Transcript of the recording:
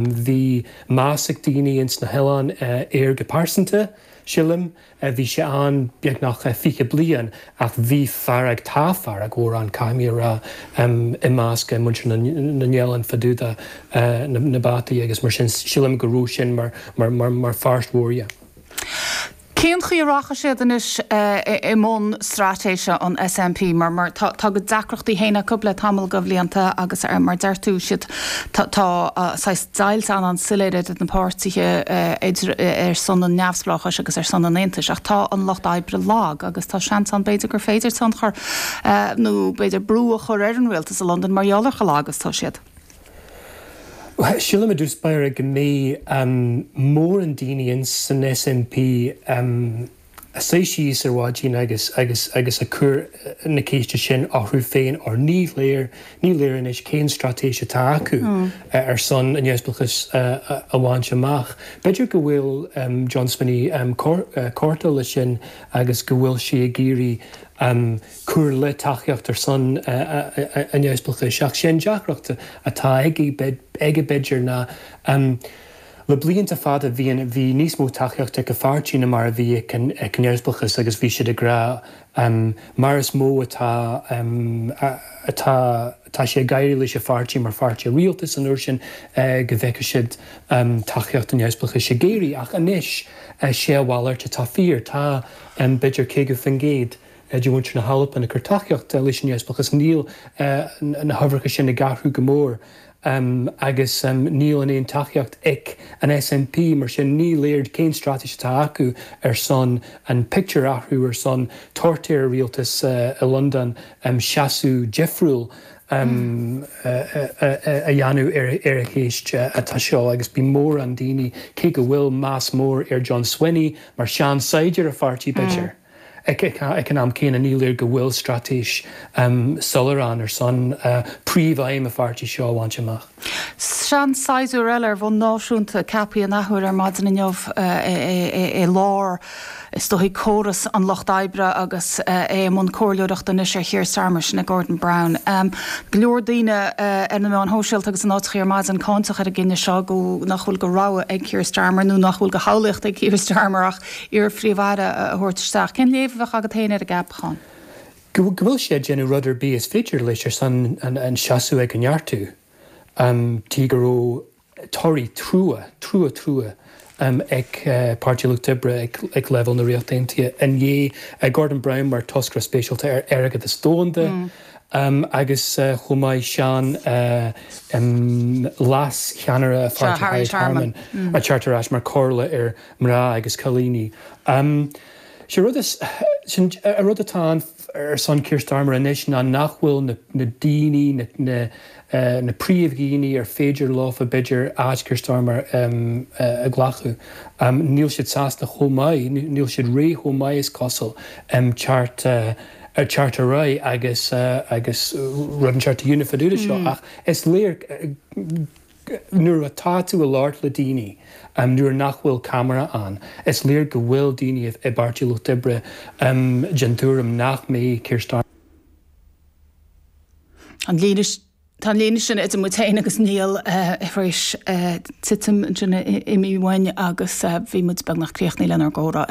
Bhí meas ag daoine ins na hoileáin air go pearsanta, silim. Bhí sé ann beagnach 20 bliain ach bhí fearg, tá fearg mhór ann, caithfidh mé a rá, i measc muintir na n-oileán fá dtaobh de na bataí agus mar sin silim go raibh sin mar pháirt mhór dhe. Cén chaoi a rachaidh siad anois i mbun straitéise an SNP mar mar tá tá a gcuid deacrachtaí féin acu le tamall de bhlianta agus mar deir tú siad tá tá saghas deighilt an an-soiléir idir na páirtithe idir ar son an neamhspleáchais agus ar son an aontais ach tá an lucht oibre lag agus tá seans ann b'fhéidir gur féidir tionchar nó b'fhéidir brú a chur ar an rialtas i Londain mar gheall ar chomh lag is atá siad. Sílim i dtús báire go mbeidh mórán daoine ins an SNP a suí síos ar mhaidin agus agus agus ag cur na ceiste sin orthu féin or ní léir ní léir anois cén straitéis atá acu ar son an neamhspleáchas a bhaint amach. B'fhéidir go bhfuil John Swinney corta leis sin agus go bhfuil sé ag iarraidh cur le tacaíocht ar son an neamhspleáchais. Ach sé an deacracht atá aige b'fhéidir ná le blianta fada bhí bhí níos mó tacaíocht ag a pháirtí ná mar a bhí ag an neamhspleáchas agus bhí siad ag rá mar is mó atá atá tá sé ag éirí leis an pháirtí mar pháirtí rialtais an uair sin go bhfeicfidh siad tacaíocht an neamhspleáchais ag éirí. Ach anois sé a mhalairt atá fíor. Tá b'fhéidir 50% de mhuintir na hAlban ag cur tacaíocht leis an neamhspleáchas. Níl na huimhreacha sin ag athrú go mór agus níl an aon tacaíocht ag an SNP, mar sin ní léir cén straitéis atá acu ar son an pictiúr a athrú, ar son tabhairt ar an rialtas i Londain seasamh difriúil a dhéanamh ar an cheist atá seo agus bíonn mórán daoine, cé go bhfuil meas mór ar John Swinney mar shean-saighdiúir a pháirtí b'fhéidir. Ag an am céanna, ní léir go bhfuil straitéis soiléir ann ar son príomhaidhm an pháirtí seo a bhaint amach. Sean-saighdiúir eile ar bhonn náisiúnta ceaptha an athuair ar maidin inniu i lár, is dóigh, córas an lucht oibre agus é i mbun comhairleoireachta anois ar Keir Starmer, sin é Gordon Brown. Go leor daoine ar na meáin shóisialta agus in áiteachaí ar maidin cáinteach ar an gcinneadh seo go nach bhfuil de rogha ag Keir Starmer nó nach bhfuil de shamhlaíocht ag Keir Starmer ach iar-phríomh-aire a thabhairt isteach. Cén léamh a bheadh agat féin ar an gceapachán? Go bhfuil sé ag déanamh rud ar bith is féidir leis ar son an seasamh ag a neartú. Tuige go raibh toradh trua, trua, trua ag Páirtí Lucht Oibre ag leibhéal na Ríochta Aontaithe i ndiaidh Gordon Brown mar toscaire speisialta ar airgeadas domhanda agus chomh maith sean leas-cheannaire a pháirtí Harriet Harman ag teacht ar ais mar comhairle ar mná agus cailíní. Sé rud is, sin an rud atá ann ar son Keir Starmer anois ná nach bhfuil na na daoine, na na na príomhdhaoine ar féidir leofa b'fhéidir áit Keir Starmer a ghlacadh, níl siad sásta chomh maith, níl siad réidh chomh maith is cosúil teacht teacht ar aghaidh agus agus rud inteacht a dhéanamh fá dtaobh de seo ach is léir Nuair atá tú ag labhairt le daoine, nuair nach bhfuil ceamara ann, is léir go bhfuil daoine i bPáirtí Lucht Oibre den tuairim nach mbeidh Keir Starmer. An líne, tá an líne sin idir muid féin agus Niall tar éis titim ansin imithe uainn agus bhí muid beagnach críochnaithe lenár gcomhrá ar.